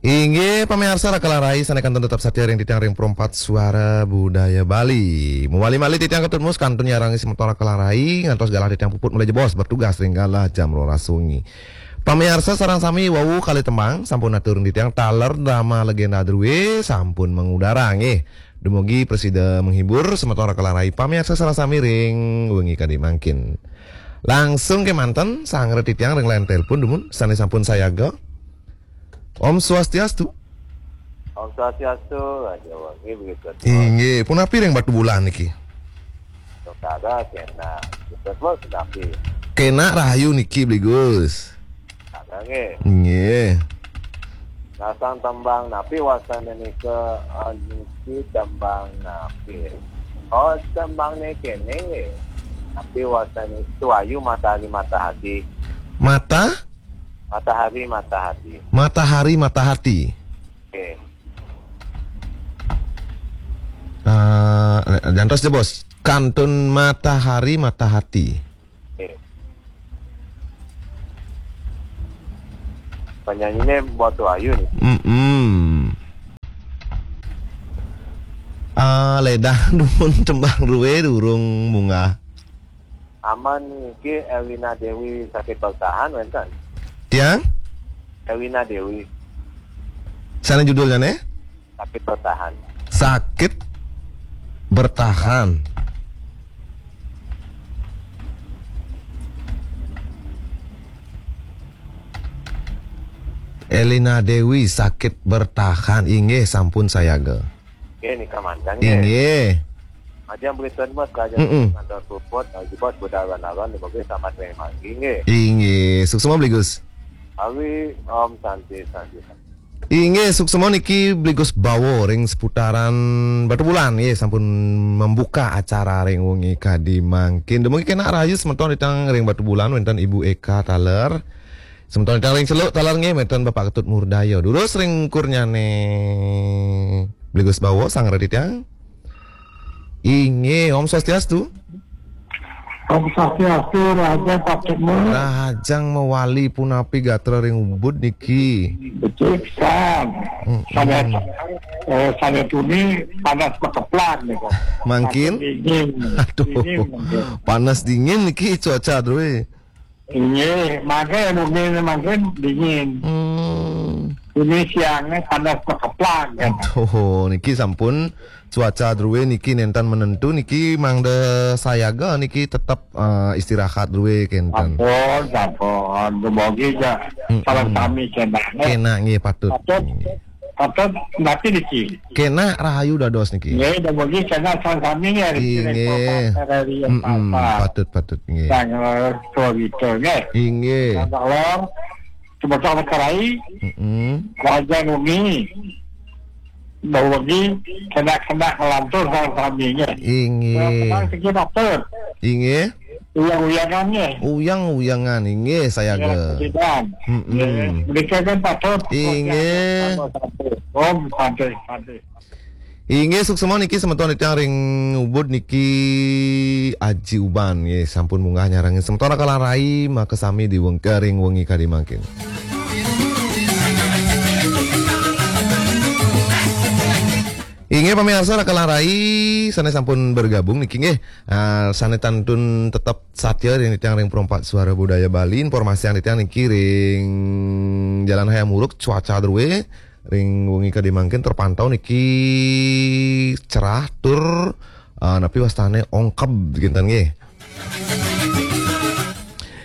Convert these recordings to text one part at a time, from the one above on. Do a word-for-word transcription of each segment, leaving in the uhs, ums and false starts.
Inggih pamiarsa, Raka lan Rai sané kantun tetep satia ring titiang ring Perempat Suara Budaya Bali. Mawali malih titiang Ketut Mus kantun nyarengin semeton Raka lan Rai ngantos galah titiang puput malih jebos bertugas ring galah jam roras wengi. Pamiarsa sareng sami, wau kalih tembang sampun atur ring titiang, taler drama Legenda Drué sampun mangudara nggih. Dumugi prasida menghibur semeton Raka lan Rai pamiarsa sareng sami ring wengi kadi mangkin. Langsung kémanten sanggra titiang ring line telepon dumun sané sampun sayaga. Om Swastiastu. Om Swastiastu, Raja Wangi begitu. Inggih, punapi ring Batubulan niki? Saudara kena, betul punapi? Kena rahayu niki, Bli Gus. Ada nggih. Nggih. Nasang tembang napi wastané nika, ah, niki tembang napi? Oh, tembang niki nggih. Napi wastané Tuayu Matahari Matahati. Mata? Matahari Matahati. Matahari Matahati. Nggih. Ah, jantos jebos. Kantun Matahari Matahati. Nggih. Penyanyiné Mbok Tuayu nih. Mm-mm. Ah, lédang dumun tembang drué durung munggah. Aman niki Elina Dewi Sakit Bertahan wénten. Tiang? Elina Dewi. Sané judulnyané? Sakit Bertahan. Sakit Bertahan. Elina Dewi, Sakit Bertahan. Inggih, sampun sayaga. Nggih, nika mantang nggih. Inggih. Ajang berita mas kaja Mm-mm. Kantor puput, jebos budal wanawan, dibagi selamat ring manggi nggih. Inggih, suksma Bli Gus. Awi, Om Santi, Santi, Santi. Inggih, suksma niki Bli Gus Bawo ring seputaran Batubulan, nggih, sampun membuka acara ring wengi kadi mangkin. Dumugi kena rahayu semeton titiang ring Batubulan, wénten Ibu Eka taler. Semeton titiang ring Celuk taler nggih, wénten Bapak Ketut Murdaya. Durus ring kurnyané Bli Gus Bawo, sanggra titiang. Inggih, Om Swastiastu. Om Swastiastu, Raja Pak Ketut Mus. Rahajeng mawali, punapi gatra ring Ubud niki? Becik pisan. Mm-mm. Sané, eh, sané tuni panas makeplak nih kok. Mangkin? Dingin. Aduh. Dingin mangkin. Panas dingin niki cuaca drué. Inggih, mangkin mungkin mangkin dingin. Hmm. Ini siangnya panas makeplak ya. Aduh, niki sampun cuaca drué niki nénten menentu niki, mangda sayaga niki tetep, eh, istirahat drué kénten. Sampun, sampun. Dumugi ja Mm-mm. Sareng sami kénak, eh. Kénak nggih, patut. Patut. Nggih. Patut napi niki? Kénak rahayu dados niki. Nggih, dumugi kénak sareng sami nggih, Riki Inggih. Riko, Riko, Mm-mm, Papa. Patut, patut nggih. Sang, eh, Riko nggih. Inggih. Sang Lor, semeton Raka lan Rai, Mm-mm. Raja Nungi. Dumugi kénak-kénak lantur sareng sami nggih. Inggih. Kénak-kénak siki patut. Inggih. Uyang-uyangan nggih. Uyang-uyangan, inggih, sayaga. Uyang-uyangan. Mm-mm. Nggih. Menika kan patut. Inggih. Om Santi, Santi. Inggih, suksma niki semeton titiang ring Ubud niki Aji Uban, nggih, sampun munggah nyarengin semeton Raka lan Rai, makasami di weng-, ring wengi kadi mangkin. Inggih, pamiarsa Raka lan Rai, sané sampun bergabung niki nggih. Ah, sané kantun tetep satia ring titiang ring Perempat Suara Budaya Bali, informasian titiang niki ring Jalan Hayam Wuruk, cuaca drué ring wengi kadi mangkin terpantau niki cerah tur, ah, napi wastané ongkeb kénten nggih.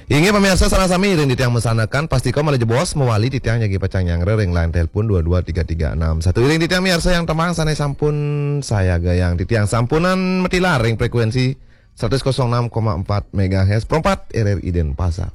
Inggih pamiarsa sareng sami, iring titiang masandekan, pastika malih jebos mawali titiang jagi pacang nyanggra ring line telepon dua dua tiga tiga enam satu. Iring titiang miarsa yang tembang sané sampun sayaga, yang titiang sampunang matilar ring frekuensi seratus kosong enam koma empat megahertz, Perempat R R I Denpasar.